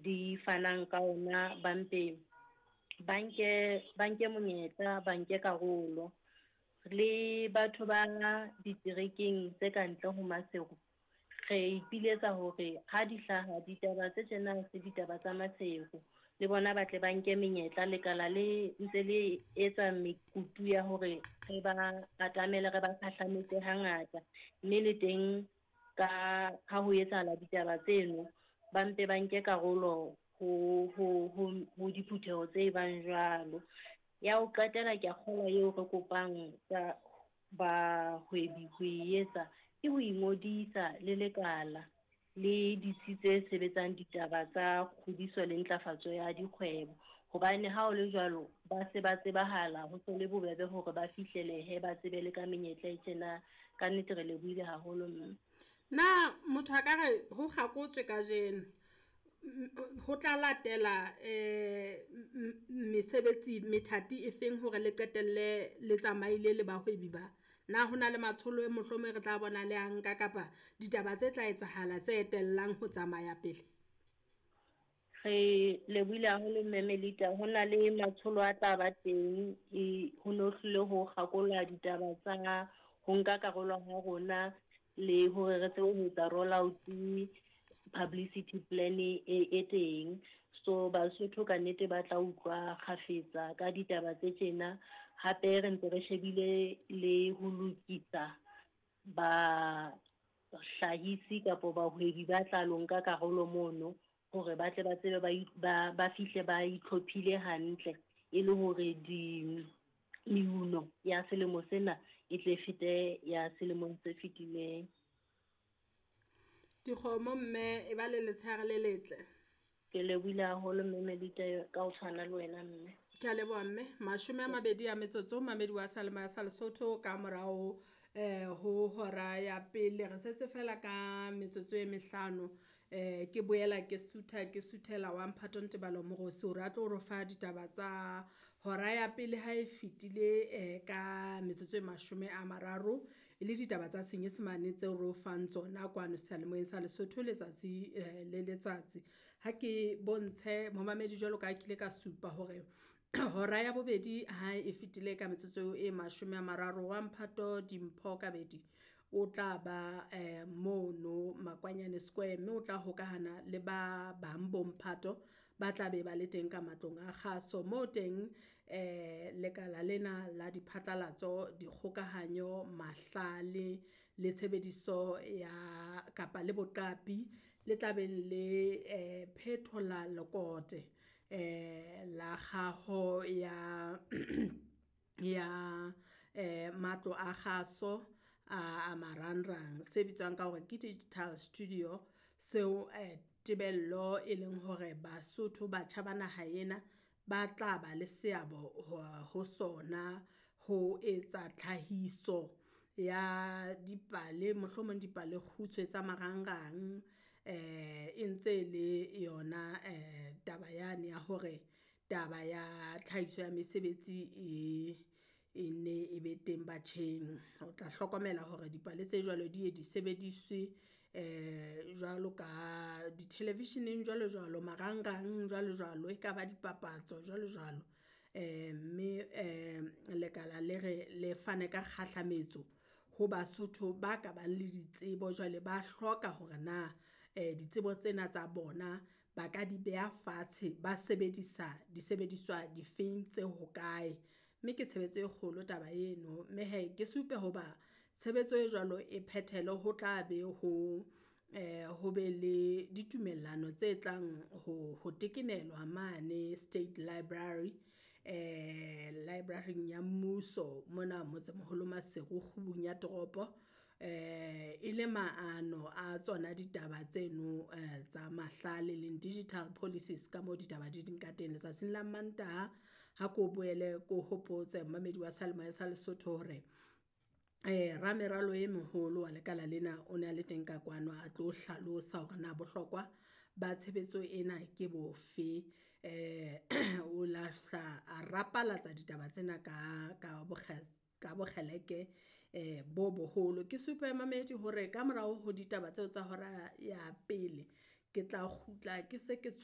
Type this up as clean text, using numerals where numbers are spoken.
Di fanang ka ona, ba mpe ba nke monyetla, ba nke karolo. Le batho ba diterekeng tse ka ntle ho Maseru, re ipiletsa hore ha di hlaha ditaba tse tjena, se ditaba tsa Maseru, le bona ba tle ba nke menyetla. Lekala le ntse le etsa mekutu ya hore re ba atamele, re ba khahlametse hangata, mme le teng ka ha ho etsahala ditaba tseno, ba mpe ba nke karolo ho diphutheho tse bang jwalo. Ya ho qetela, ke a kgolwa eo re kopang ka bahwebi ho e etsa ke ho ingodisa le lekala le ditsi tse sebetsang ditaba tsa kgodiso le ntlafatso ya dikgwebo, hobane ha o le jwalo ba se ba tsebahala, ho se le bobebe hore ba fihlelehe, ba tsebe le ka menyetla e tjena. Ka nnete re lebohile haholo, mme. Na motho a ka re ho kgakotswe kajeno, ho tla latela mesebetsi methati e feng hore le qetelle le tsamaile le bahwebi ba? Na ho na le matsholo e mohlomong re tla bona le a nka kapa ditaba tse tla etsahala tse etellang ho tsamaya pele? Re lebohile haholo, Mme Melita. Ho na le matsholo a tla ba teng e ho no hlile ho kgakolwa ditaba tsa ho nka karolo ha rona le hore re tsebe ho etsa roll out publicity plan e teng. So Basotho ka nnete ba tla utlwa kgafetsa ka ditaba tse tjena. Hape re ntse re shebile le ho lokisa bahlahisi kapa bahwebi ba tla lo nka karolo mono, hore ba tle ba tsebe ba fihle ba itlhophile hantle, e le hore di meuno ya selemo sena e tle fete ya selemong se fetileng. Dikgomo, mme, e ba le letshehare le letle. Ke lebohile haholo, Mme Melita, ka ho tshwana le wena, mme. Ke a leboha, mme. 20 a metsotso, mamedi wa Seyalemoya sa Lesotho, ka morao ho hora ya pele. Re setse fela ka metsotso e 5. Ke boela ke sutha, ke suthela wa Mphato Ntebalo Morosi hore a tlo re fa ditaba tsa hora ya pele ha e fetile ka metsotso e 30, e le ditaba tsa Senyesemane tseo re o fang tsona kwano seyalemoyeng sa Lesotho letsatsi le letsatsi. Ha ke bontshe momamedi jwalo ka kile ka supa hore hora ya bobedi ha e fetile ka metsotso e 30, wa Mphato Dimpho Kabedi o tla ba mono Makwanyane Square, mme o tla hokahana le ba bang bo mphato ba tla be ba le teng ka matlong a kgaso mo teng. Lekala lena la diphatlalatso, dikgokahanyo, mahlale le tshebediso ya kapa le boqapi le tla beng le phethola lekote la kgaho ya matlo a kgaso a marangrang, se bitswang ka hore ke digital studio, seo tebello e leng hore Basotho, batjha ba naha ena, ba tla ba le seabo ho sona ho etsa tlhahiso ya dipale, mohlomong dipale kgutshwe tsa marangrang. E ntse le yona taba yane ya hore taba ya tlhahiso ya mesebetsi e ne e be teng batjheng. O tla hlokomela hore dipale tse jwalo di ye di sebediswe jwalo ka di-television-eng, jwalo jwalo, marangrang, jwalo jwalo, e ka ba dipapatso, jwalo jwalo. Mme lekala le re le fane ka kgahlametso ho Basotho ba ka bang le ditsebo, jwale ba hloka hore na ditsebo tsena tsa bona ba ka di beha fatshe, ba sebedisa disebediswa difeng tse hokae. Mme ke tshebetso e kgolo taba eno, mme hee ke supe hoba tshebetso e jwalo e phethele, ho tla be ho be le ditumellano tse tlang ho tekenelwa mane State Library, library ya mmuso mona motsemoholo Maseru, kgubung ya toropo, e le maano a tsona ditaba tseno tsa mahlale leng digital policies, ka moo ditaba di ding ka teng letsatsing la Mantaha. Ha ko boele ko hopotse momamedi wa Seyalemoya sa Lesotho hore rameralo e moholo wa lekala lena o ne a le teng ka kwano, a tlo hlalosa hore na bohlokwa ba tshebetso ena ke bofe. O lahla a rapalatsa ditaba tsena ka bokgeleke bo boholo. Ke supe mamedi hore ka morao ho ditaba tseo tsa hora ya pele ke tla kgutla ke se ke.